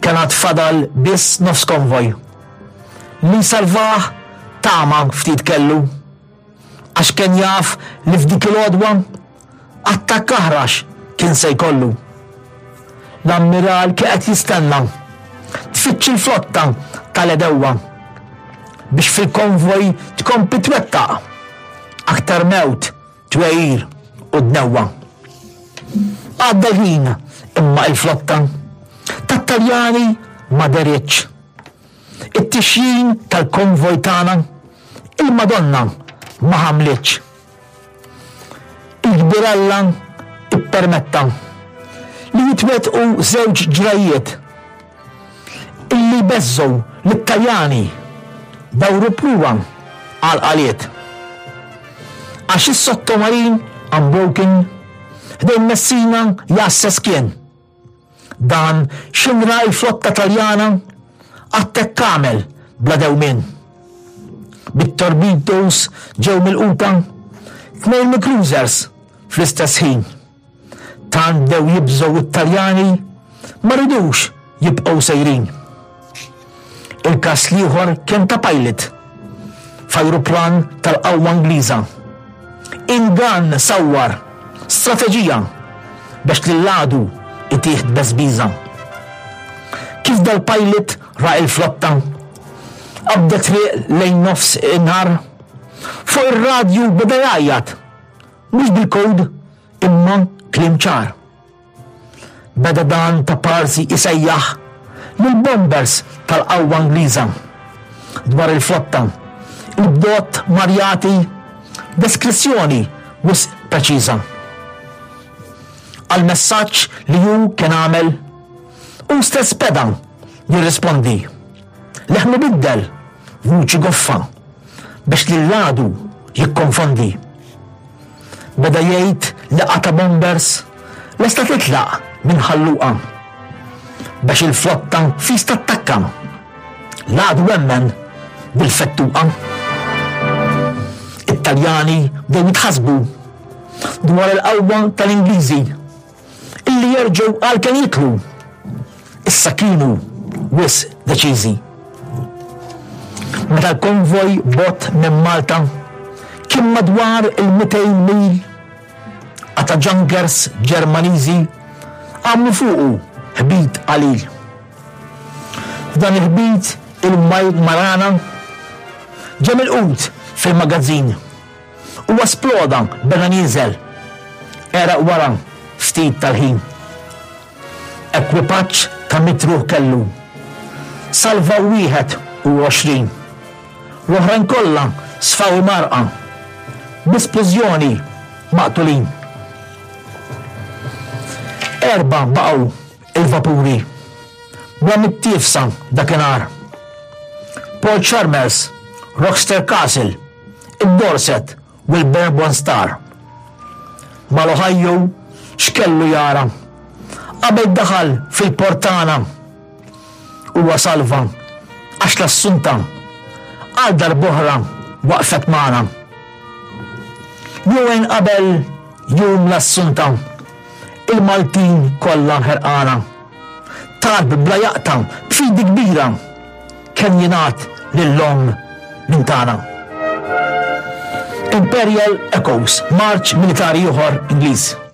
Kien għad fadal biss nofs konvoj. Li salvah tama ftit kellu. Għax kien jaf li f'dik il-għodwa attakk aħrax kien se jkollu. L-ammiral kien qed jistenna tfittx il-flotta tal-edewwa biex fil-konvoj tkompli twettaq aktar mewt, twegħir u dnewwa. Għadda l-ħin imma il-flotta tat-Taljani ma deritx. It-tixjin tal-konvoj tagħna il-Madonna ma ħamlitx. Il-kbir Alla ippermetta li jitwettqu żewġ ġrajjiet illi jbeżżgħu lit-Taljani dawru pruwa għal qaliet. Għax is-sottomarin Unbroken ħdejn Messina jgħasses kien. Dan x'in ra l-flotta Taljana attakk għamel bla dewmien. Bit-torpedoes ġew milquta tnejn mill-cruisers fl-istess ħin. Tant bdew jibżgħu t-Taljani ma ridux jibqgħu sejrin. Il-każ l-ieħor kien ta' pilot f'ajruplan tal-qawwa Ingliża. Ingann sawwar strateġija biex lill-għadu itih tbeżbiża. Kif dal-pilot ra il-flotta qabdet triq lejn nofs in-nhar, fuq ir-radju beda jgħajjat, mhux bil-kod imma kliem ċar. Beda dan ta' parsi isejjaħ lill-bombers tal-qawwa Ingliża dwar il-flotta, il-bdot mar jagħti deskrizzjoni wisq preċiża. Għall-messaġġ li hu kien għamel, hu stess beda jirrispondi. Leħnu biddel, vuċi goffa, biex lill-għadu jikkonfondi. Beda jgħid li qata' bombers lesta titlaq minn Ħal Luqa biex il-flotta fis tattakka. L-għadu emmen bil-fettuqa. It-Taljani bdew jitħassbu dwar il-qawwa tal-Ingliżi illi jerġgħu għal kemm jitlu. Issa kienu wisq deċiżi. Meta l-konvoj bogħod minn Malta kien madwar il-200 mil, qata' junkers Ġermaniżi għamlu fuqu ħbit qalil. F'dan il-ħbit il-Marana ġie milqut fil-magazzin. Huwa sploda beda nieżel. Għeraq wara ftit tal-ħin. Ekwipaġġ ta' mitruħ kellu. Salvaw 21. L-oħrajn kollha sfaw imgħarrqa. Bi splużjoni maqtulin. Erbgħa baqgħu il-vapuri. Bla mittiefsa dakinhar. Paul Chalmers, Rochester Castle, id-Dorset u l-Bourbon Star. Mal-Ohio x'kellu jara qabel daħal fil-port tagħna? Huwa salva għax l-Assunta għal darb'oħra waqfet magħna. Jumejn qabel jum l-Assunta, il-Maltin kollha ħerqana. Talb bla jaqta' b'fidi kbira kemm jingħad lill-omm minn tagħna. Imperial Echoes, marċ militari ieħor Ingliż.